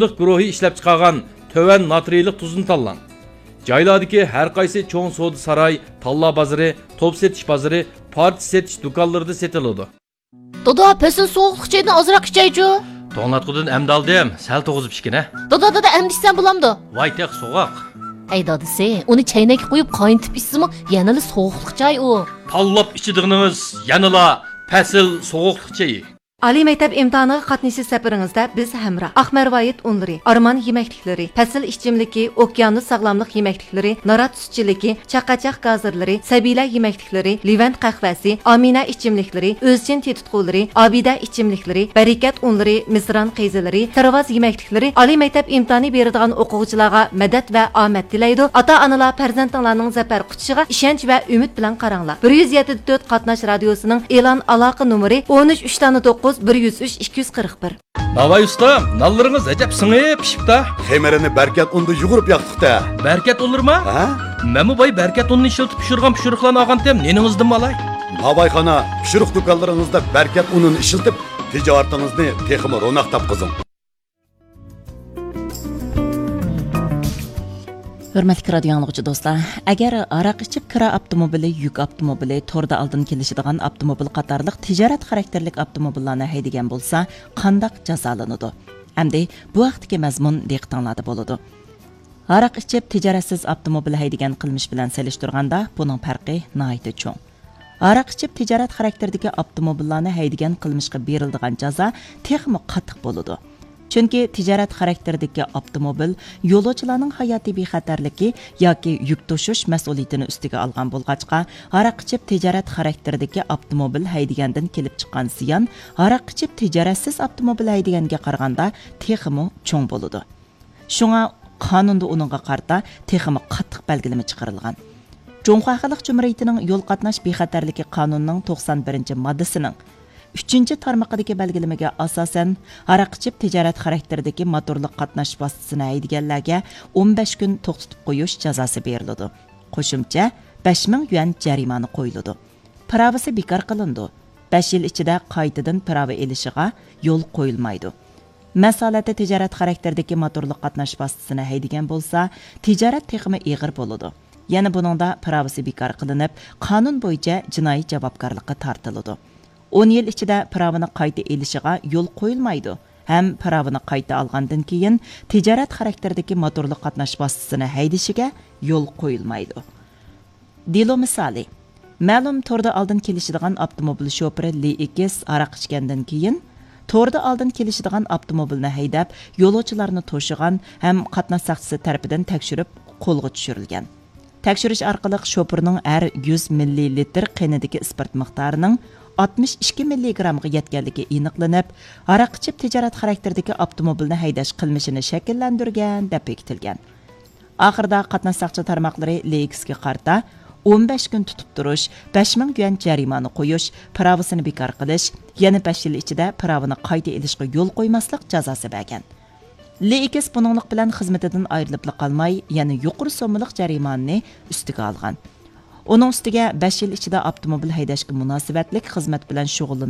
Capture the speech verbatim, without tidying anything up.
گۇرۇھى ئىشلەپچىقارغان تۆۋەن ناترىيلىق تۇزنى تاللاڭ. جايلاردىكى ھەر قايسى چوڭ سودا ساراي، تاللا بازىرى، توپ سېتىش بازىرى، پارچە سېتىش دۇكانلىرىدا سېتىلىدۇ. دادا، پەسىل سوغۇقلۇق چايدىن ئازراق ئىچەيچۇ. توڭلاتقۇدىن ئەمدى ئالدىم، سەل توغۇزۇپ ئىچكىنە. دادا، دادا، ئەمدى ئىچسەم بولامدۇ؟ ۋاي تېخى سوغۇق. ئەي دادىسى، ئۇنى چەينەككە قۇيۇپ قاينىتىپ ئىچسىمۇ يەنىلا سوغۇقلۇق چاي ئۇ. تاللاپ ئىچىدىغىنىڭىز يەنىلا پەسىل سوغۇقلۇق چېيى. ئالىي مەكتەپ ئىمتىھانىغا قاتنىشىش سەپىرىڭىزدە بىز ھەمراھ. ئاق مەرۋايىت ئۇنلىرى، ئارمان يېمەكلىكلىرى، پەسىل ئىچىملىكى، ئوكيانۇس ساغلاملىق يېمەكلىكلىرى، نارات سۈتچىلىكى، چاقاچاق گازىرلىرى، سەبىيلەر يېمەكلىكلىرى، لېۋەنت قەھۋەسى، ئامىنە ئىچىملىكلىرى، ئۆزچىن تېتىتقۇلىرى، ئابىدە ئىچىملىكلىرى، بەرىكەت ئۇنلىرى، مىسران قەيزىلىرى، تىرۋاز يېمەكلىكلىرى ئالىي مەكتەپ ئىمتىھانى بېرىدىغان ئوقۇغۇچىلارغا مەدەت ۋە ئامەت تىلەيدۇ. ئاتا-ئانىلار پەرزەنتىڭلارنىڭ زەپەر قۇچىشىغا ئىشەنچ ۋە ئۈمىد بىلەن قاراڭلار. بىر يۈز يەتتە دۆت قاتناش رادىيوسىنىڭ ئېلان ئالاقە نومۇرى ئون ئۈچ، ئۈچ دانە توققۇز، بىر يۈز ئۈچ، ئىككى يۈز قىرىق بىر. ناۋاي ئۇستا، نانلىرىڭىز ئەجەب سىڭىپ پىشىپتا. خېمىرىنى بەركەت ئۇندا يۇغۇرۇپ ياقتۇق-تە. بەركەت ئۇنلىرىما؟ ھە؟ مەنمۇ باي بەركەت ئۇنىنى ئىشلىتىپ پىشۇرغان پىشۇرۇقلارنى ئالغانتىم، نېنىڭىزدىنمۇ ئالاي؟ ناۋايخانا پىشۇرۇق دۇكانلىرىڭىزدا بەركەت ئۇنىنى ئىشلىتىپ، تىجارىتىڭىزنى تېخىمۇ روناق تاپقۇزۇڭ. ھۆرمەتلىك رادىيو ئاڭلىغۇچى دوستلار، ئەگەر ھاراق ئىچىپ كىرا ئاپتوموبىلى، يۈك ئاپتوموبىلى، توردا ئالدىن كېلىشىدىغان ئاپتوموبىل قاتارلىق تىجارەت خاراكتېرلىك ئاپتوموبىللارنى ھەيدىگەن بولسا، قانداق جازالىنىدۇ؟ ئەمدى بۇ ھەقتىكى مەزمۇن دىققىتىڭلاردا بولىدۇ. ھاراق ئىچىپ تىجارەتسىز ئاپتوموبىل ھەيدىگەن قىلمىش بىلەن سېلىشتۇرغاندا، بۇنىڭ پەرقى ناھايىتى چوڭ. ھاراق ئىچىپ تىجارەت خاراكتېرىدىكى ئاپتوموبىللارنى ھەيدىگەن قىلمىشقا بېرىلىدىغان جازا تېخىمۇ قاتتىق بولىدۇ. چۈنكى تىجارەت خاراكتېرىدىكى ئاپتوموبىل يولۇچىلارنىڭ ھاياتىي بىخەتەرلىكى ياكى يۈك توشۇش مەسئۇلىيىتىنى ئۈستىگە ئالغان بولغاچقا، ھاراق ئىچىپ تىجارەت خاراكتېرىدىكى ئاپتوموبىل ھەيدىگەندىن كېلىپ چىققان زىيان ھاراق ئىچىپ تىجارەتسىز ئاپتوموبىل ھەيدىگەنگە قارىغاندا تېخىمۇ چوڭ بولىدۇ. شۇڭا قانۇندا ئۇنىڭغا قارىتا تېخىمۇ قاتتىق بەلگىلىمە چىقىرىلغان. جۇڭخۇا خەلق جۇمھۇرىيىتىنىڭ يول قاتناش بىخەتەرلىكى قانۇنىنىڭ توقسان بىرىنچى ماددىسىنىڭ ئۈچىنچى تارمىقىدىكى بەلگىلىمىگە ئاساسەن، ھاراق ئىچىپ تىجارەت خاراكتېرىدىكى موتورلۇق قاتناش ۋاسىتىسىنى ھەيدىگەنلەرگە ئون بەش كۈن توختىتىپ قويۇش جازاسى بېرىلىدۇ. قوشۇمچە بەش مىڭ يۈەن جەرىمانە قويۇلىدۇ. پىراۋىسى بىكار قىلىنىدۇ. بەش يىل ئىچىدە قايتىدىن پىراۋا ئېلىشىغا يول قويۇلمايدۇ. مەسىلەن، تىجارەت خاراكتېرىدىكى موتورلۇق قاتناش ۋاسىتىسىنى ھەيدىگەن بولسا، تىجارەت تېخىمۇ ئېغىر بولىدۇ. يەنە بۇنىڭدا پىراۋىسى بىكار قىلىنىپ، قانۇن بويىچە جىنايى جاۋابكارلىققا تارتىلىدۇ. ئون يىل ئىچىدە پىراۋىنى قايتا ئېلىشىغا يول قويۇلمايدۇ ھەم پىراۋىنى قايتا ئالغاندىن كېيىن تىجارەت خاراكتېرىدىكى موتورلۇق قاتناش ۋاسىتىسىنى ھەيدىشىگە يول قويۇلمايدۇ. دېلو مىسالى. مەلۇم توردا ئالدىن كېلىشىدىغان ئاپتوموبىل شوپۇرى لى ئېكس ھاراق ئىچكەندىن كېيىن، توردا ئالدىن كېلىشىدىغان ئاپتوموبىلنى ھەيدەپ، يولۇچىلارنى توشۇغان ھەم قاتناش ساقچىسى تەرىپىدىن تەكشۈرۈپ قولغا چۈشۈرۈلگەن. تەكشۈرۈش ئارقىلىق شوپۇرنىڭ ھەر يۈز مىللىلىتىر قېنىدىكى ئىسپىرت مىقدارىنىڭ ئاتمىش ئىككى مىللىگرامغا يەتكەنلىكى ئېنىقلىنىپ، ھاراق ئىچىپ تىجارەت خاراكتېرىدىكى ئاپتوموبىلنى ھەيدەش قىلمىشىنى شەكىللەندۈرگەن دەپ بېكىتىلگەن. ئاخىرىدا قاتناش ساقچى تارماقلىرى لېكسكا قارىتا ئون بەش كۈن تۇتۇپ تۇرۇش، بەش مىڭ يۈەن جەرىمانە قويۇش، پىراۋىسىنى بىكار قىلىش، يەنە بەش يىل ئىچىدە پىراۋىنى قايتا ئېلىشقا يول قويماسلىق جازاسى بەرگەن. لېكس بۇنىڭلىق بىلەن خىزمىتىدىن ئايرىلىپلا قالماي، يەنە يۇقىرى سوممىلىق جەرىمانىنى ئۈستىگە ئالغان. ئۇنىڭ ئۈستىگە بەش يىل ئىچىدە ئاپتوموبىل ھەيدەشكە مۇناسىۋەتلىك خىزمەت بىلەن شۇغۇللىنىش